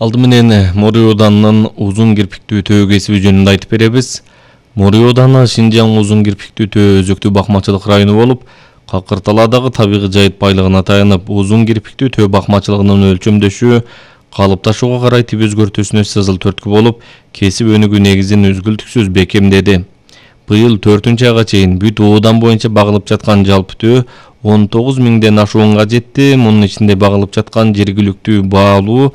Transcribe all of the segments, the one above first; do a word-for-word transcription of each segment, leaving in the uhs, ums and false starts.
Алды менен Морий Ауданынын узун кирпиктүү төө кесиби жөнүндө айтып беребиз. Морий Ауданы Шинжаң узун кирпиктүү төө өзөктүү бакмачылык району болуп, Какырталадагы табигый жайыт байлыгына таянып, узун кирпиктүү төө бакмачылыгынын өлчөмдөшү калыпташууга карай тип өзгөртүүсүнө сызыл төрткү болуп, кесип өнүгүү негизин үзгүлтүксүз бекемдеди. Быйыл төртүнчү айга чейин бүт оодан боюнча багылып жаткан жалпы төө он тогуз миңден ашуунга жетти. Мунун ичинде багылып жаткан жергиликтүү баалуу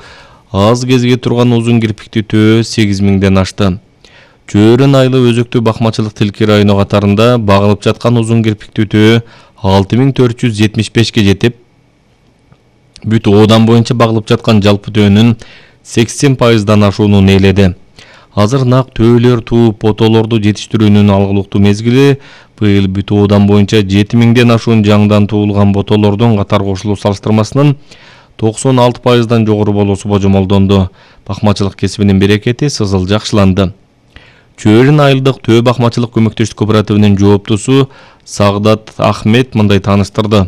аз кезге турган узун кирпиктүү төө сегиз миңден ашты. Чөөрөн айлы өзөктүү бакмачылык тилки району катарында багылып жаткан узун кирпиктүү төө алты миң төрт жүз жетимиш бешке жетип, бүт оодан боюнча багылып жаткан жалпы төөнүн сексен пайыздан ашуунун ээледи. Азыр нак төөлөр тууп потолорду жетиштирүүнүн алгылыктуу мезгили. Быйыл бүт оодан боюнча жети миңден ашуун жаңдан туулган ботолордун катар кошулуу салыштырмасынан токсон алты пайыздан жогору болуусу божомолдонду. Бакмачылык кесибинин берекети сызыл жакшыланды. Чөөрөн айылдык төө бакмачылык көмөктөштүк кооперативинин жооптусу Сагдат Ахмет мындай тааныштырды.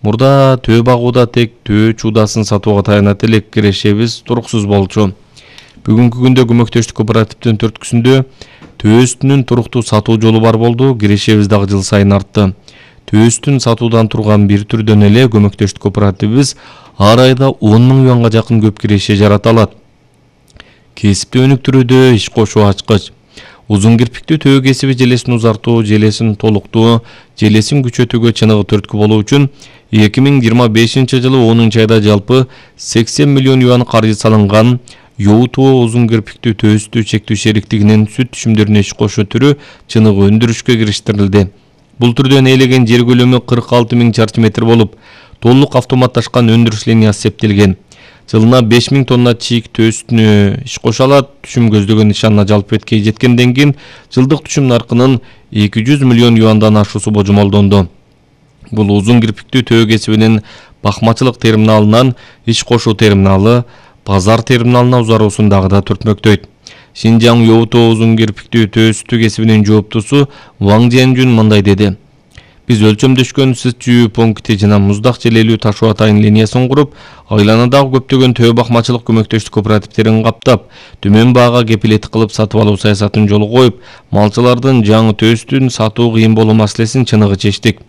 Мурда төө багууда тек төө чуудасын сатууга таянат элек, кирешебиз туруксуз болчу. Бүгүнкү күндө көмөктөштүк кооперативдин төрткүсүндө төөстүнүн туруктуу сатуу жолу бар болду. Кирешебиз дагы жыл сайын артты. Төөстүн сатуудан турган бир түрдөн эле көмөктөштүк кооперативибиз ар айда он миң юанга жакын көп киреше жарата алат. Кесипти өнүктүрүүдө иш кошуу ачкыч. Узун кирпиктүү төө кесиби желесин узартуу, желесин толуктоо, желесин күчөтүүгө чыныгы төрткү болуу үчүн эки миң жыйырма бешинчи жылы онунчу айда жалпы сексен миллион юан каржы салынган. Yoğutuğu uzun kirpikli töğüstü çektүү şeriktiginin süt түшүмдөрүнө иш кошуу түрү чыныгы өндүрүшкө кириштирилди. Бул түрдөн ээлеген жер көлөмү кырк алты миң чарчы метр болуп, толук автоматташкан өндүрүш линиясы септелген. Жылына беш миң тонна чийик төөстүнө иш кошо алат. Түшүм көздөгөн нишанына жалпы беткей жеткенден кийин жылдык түшүм наркынын эки жүз миллион юандан ашуусу божомолдонду. Бул узун кирпиктүү төө кесибинин бакмачылык терминалынан иш кошуу терминалы, Пазар терминалына узаруусун дагы да түртмөктөйт. Шинжаң Yoğutuğu узун кирпиктүү төөстү кесибинин жооптусу Ваң Жэнжүн мындай деди. Биз өлчөмдөшкөн сыз чүйүү пункти жана муздак желелүү ташуу атайын линиясын куруп, айланадагы көптөгөн төө бакмачылык көмөктөштүк кооперативтерин каптап, төмөн баага кепилет кылып сатып алуу саясатын жолго коюп, малчылардын жаңы төөстүн сатуу кыйын болуу маселесин чыныгы чечтик.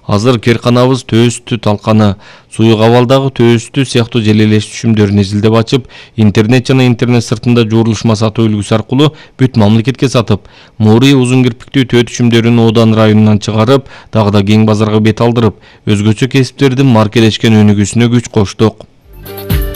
Азыр керканабыз төөстү талканы, суюк абалдагы төөстү сыяктуу желелеш түшүмдөрүн изилдеп ачып, интернет жана интернет сыртында жуурулушма сатуу үлгүсү аркылуу бүт мамлекетке сатып, Морий узун кирпиктүү төө түшүмдөрүн Оодан районунан чыгарып, дагы да кең базарга бет алдырып, өзгөчө кесиптердин маркелешкен өнүгүүсүнө күч коштук.